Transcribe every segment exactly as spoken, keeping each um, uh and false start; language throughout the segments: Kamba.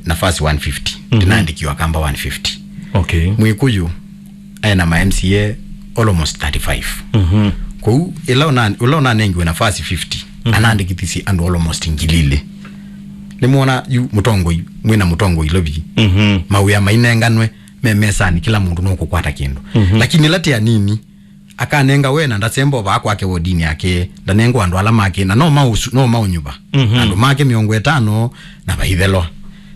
nafasi one fifty. Mhm. Ndinaandĩkiwe Akamba one fifty. Okay. Mwĩkũyũ aĩ na ma M C A almost thirty-five. Mhm. Kwoou ĩla ũna-, ũla ũnanengiwe nafasi fifty, mhm, anaandĩkithisye andũ almost ngili ilĩ. Nĩmwona yu mũtongoi, mwĩna mũtongoi Ilovi. Mhm. Mawĩa mainenganwe me mesanĩ, kĩla mũndũ nũkũkwata kĩndũ. Mhm. Lakini ĩla tĩ anini, akanenga we na ndasemba vaa kwake wodinĩ yake, ndanengwa andũ ala make, na no maũsu-, no maũnyuva. Mhm. Andũ make mĩongo ĩtano na vaithelwa.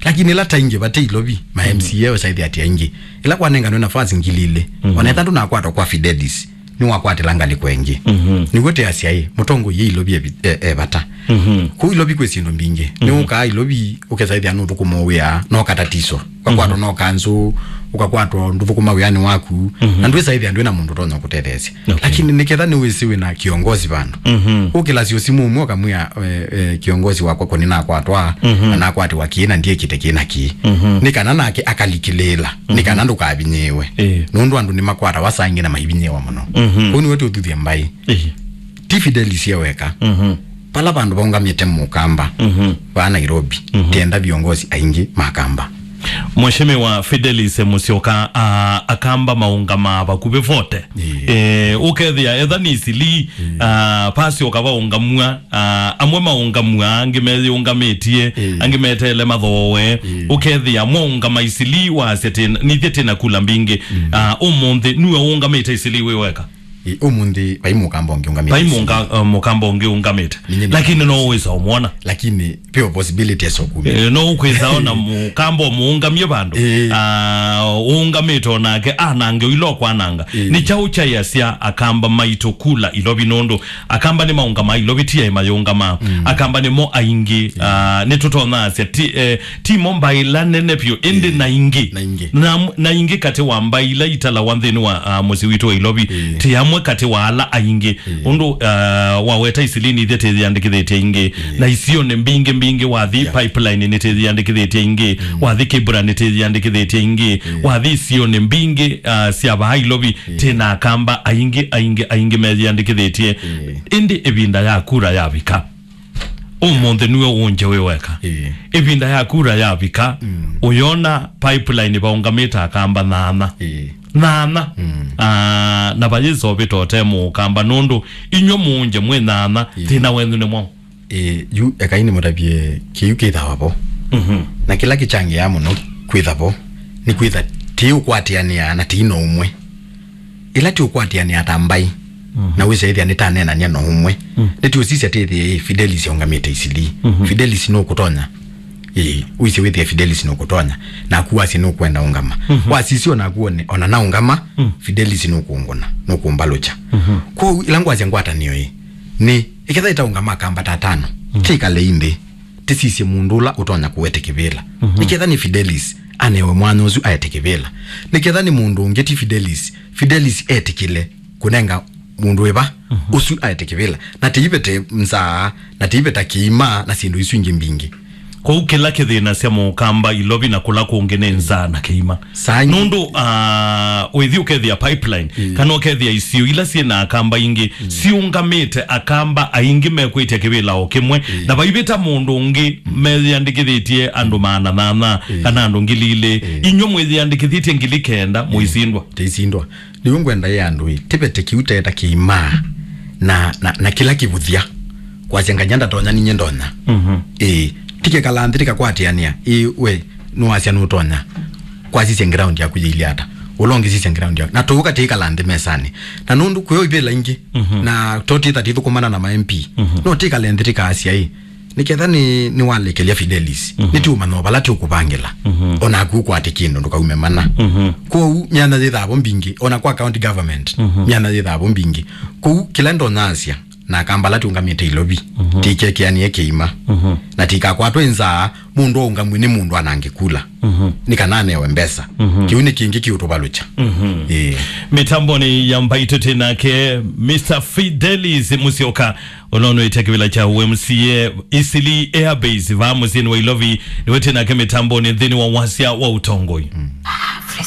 Lakini ĩla taingĩ vate Ilovi, ma M C A ũsaithya ati aingĩ. Ĩla kwanenganwe nafasi ngili ilĩ, mhm, ona ĩtandũ nakwatwa kwa Fidelis, nĩwakwatĩla ngalĩko ĩngĩ. Mhm. Nĩw'o tĩasya ĩ, mũtongoi ye Ilovi e vi-, e, e vata. Mhm. Kũu Ilovi kwĩ syĩndũ mbingĩ. Mhm. Nĩũkaa Ilovi, ũkesaithya nũthũkũma wĩa, no katatiswa. Ũkakwatwa, mhm, no kanzũ, ũkakwatwa ndũthũkũma wĩanĩ waku, mhm, na ndwĩsaithya ndwĩ na mũndũ ũtonya kũtetheesya. Okay. Lakini nĩketha nĩwĩsĩ wĩ na kĩongosi vandũ. Mhm. Ũkĩlasya ũsimũ ũmwe ũkamwĩa, eh, eh, kĩongosi wakwa kũni nakwatwa, mhm, na nakwatĩwa kĩĩ na ndiĩkĩte kĩĩ na kĩĩ. Mhm. Nĩ kana nake akalikĩlĩĩla, nĩ, mhm, kana ndũkavinyĩĩwe. Ĩĩ. Nũndũ andũ nĩmakwatawa saa ingĩ na maivinyĩĩwa mũno. Mhm. Kũu nĩwe tũthuthya mbaĩ. Ĩĩ. Ti Fidelis e weka. Mhm. Vala vandũ vaũngamĩte mũkamba, mhm, vaa Nairobi, mhm, tienda viongozi aingĩ makamba. Mheshimiwa Fidelis Musyoka, a, akamba maũngamaa vakuvĩ vote. Ĩĩ. Eh, ũkethĩa etha nĩ Isili, ĩĩ, a, pasi ũkavaũngamw'a, a, amwe maũngamw'a, angĩ meyĩũngamĩtye, ĩĩ, angĩ meteele mathooe. Ĩĩ. Ũkethĩa mwaũngama Isili wasya tĩna, nithyĩ tĩna kula mbingĩ. Mm. A, ũmũnthĩ nue ũũngamĩte Isili wĩ weka. Ĩ, ũmũnthĩ vai mũkamba ũngĩ ũngamĩte. Vai mũnga-, uh, mũkamba ũngĩ ũngamĩte. Ninye nĩ. Lakini no wĩsa ũmwona. Lakini peo possibility eso kumĩ. Eh, no ũkwĩsa ona mũkamba mũũngamie vandũ. Eh. Ah, ũũngamĩte onake anange ilo kwananga. Eh. Nĩ kyaũ kyaiasya akamba maitũ kula Ilovi nũndũ akamba nĩ maũngama Ilovi ti aĩ mayũngama. Mm. Akamba nĩmo aingĩ. Eh. Ah, nĩtũtonyasya ti, eh, ti mo mbaĩ ila nene vyũ, ĩndĩ, ĩĩ, na ingĩ. Na ingĩ. Na, na ingĩ katĩ wa mbaĩ ila italawa nthĩnĩ wa, ah, mũsyĩ witũ wa Ilovi, ĩĩ, ti amwe katĩ wa ala aingĩ. Ĩĩ. Ũndũ, ah, waweta Isili nithyĩ tĩyĩandĩkĩthĩtye ingĩ. Ĩĩ. Na isionĩ mbingĩ mbingĩ, wathi, yeah, Pipeline nĩtĩyĩandĩkĩthĩtye ingĩ. Mm. Wathi Kibra nĩtĩyĩandĩkĩthĩtye ingĩ. Ĩĩ. Wathi isionĩ mbingĩ, ah, sya vaa Ilovi, ĩĩ, tĩ na akamba aingĩ, aingĩ, aingĩ meyĩandĩkĩthĩtye. Ĩĩ. Ĩndĩ ĩvinda ya kura yavika. Ũmũnthĩ nue ũnje wĩ weka. Ĩĩ. Ĩvinda ya kura yavika, mm, ũyona Pipeline vaũngamĩte akamba nyaanya. Ĩĩ. Nyaanya. Mm. Ah, na vayĩsovĩta ũte mũkamba nũndũ inyw'ĩ mũnje mwĩ nyaanya, ĩĩ, thĩna wenyu nĩ mwaũ? Ĩĩ, yu ekai nĩmũtavye kĩu kĩthawa vo. Mhm. Na kĩla kĩkyangĩaa mũno kwĩtha vo, nĩ kwĩtha tĩũkwatĩanĩa na tĩi na ũmwe. Ĩla tĩũkwatĩanĩa ta mbaĩ, mhm, na wĩsĩ ĩthĩa nĩtaneenany'a no ũmwe. Mm. Nĩtĩũsisya tĩthĩe, ĩ, Fidelis aũngamĩte Isili. Mhm. Fidelis nũkũtonya. Ĩ, wĩsĩ wĩthĩe Fidelis nũkũtonya. Naku wasye nũkwenda ũngama. Mhm. Wasisya onaku one, ona naũngama, mm, Fidelis nũkũngũna, nũkũmbalũkya. Mhm. Kwoou, ĩla ngwasya ngwatanĩo ĩ, nĩ, ĩketha ĩtaũngama akamba ta atano, mm, tĩkalei nthĩ. Tĩsisye mũndũ ũla ũtonya kũete kĩvĩla. Mhm. Nĩketha nĩ Fidelis, anewe mwanya ũsu aete kĩvĩla. Nĩketha nĩ mũndũ ũngĩ ti Fidelis, Fidelis etĩkĩle kũnenga mũndũ ĩva, mhm, ũsu aete kĩvĩla. Na tĩivete nzaa, na tĩiveta kĩima, na syĩndũ isu ingĩ mbingĩ. Kwoou kĩla kĩthĩnasya mũkamba Ilovi na kũla kũngĩ nĩ nzaa na kĩima. Saa ingĩ. Nũndũ, ah, wĩthi ũkethĩa Pipeline, mm, kana ũkethĩa isio ila syĩ na akamba ingĩ, mm, siũngamĩte akamba aingĩ mekwĩtya kĩvĩla o kĩmwe, mm, na vaivĩta mũndũ ũngĩ, mm, meyĩandĩkĩthĩtye andũ maana nyaanya, mm, kana andũ ngili ilĩ. Mm. Inyw'ĩ mwĩyĩandĩkĩthĩtye ngili kenda, mm, mũisindwa. Tĩisindwa. Nĩw'o ngwenda ĩ andũ ĩ, tĩvete kĩu teta kĩimaa na, na, na kĩla kĩvũthya. Kwasya nganya ndatonya ninye ndonya. Mhm. Ĩĩ, tikekala nthĩ tĩkakwatĩanĩa. Ĩĩ, we, nũwasya nũtonya. Kwasisya ground yaku yĩilye ata? Ũla ũngĩ sisya ground yaku. Na tũũka tĩikala nthĩ mesanĩ. Na nũndũ kwĩo ivĩla ingĩ, mhm, na to tĩtha tĩthũkũmana na ma M P. Mhm. No tĩkale nthĩ tĩkaasya ĩ, nĩketha nĩ, nĩwalekelya Fidelis. Mhm. Nĩtĩũmanya o vala tĩũkũvangĩla. Mhm. Onaku ũkwate kĩndũ ndũkaume mana. Mhm. Kwoou myanya yĩthavo mbingĩ, ona kwa county government, mhm, myanya yĩthavo mbingĩ. Kwoou kĩla ndonyasya, na akamba ala tũũngamĩte Ilovi, mhm, tĩikekeanĩe kĩima. Mhm. Na tĩikakwatwe nzaa, mũndũ aũngamw'e nĩ mũndũ anange kula. Mhm. Nĩ kana anewe mbesa. Mhm. Kĩu nĩ kĩngĩ kĩũtũvalũkya. Mhm. Ĩĩ. Mĩtambonĩ ya mbaitũ tĩ nake Mister Fidelis Musyoka, ũla ũnũĩte kĩvĩla kya U M C A Isili Air Base vaa mũsyĩnĩ wa Ilovi, nĩwe tĩ nake mĩtambonĩ nthĩnĩ wa wasya wa ũtongoi. Mm.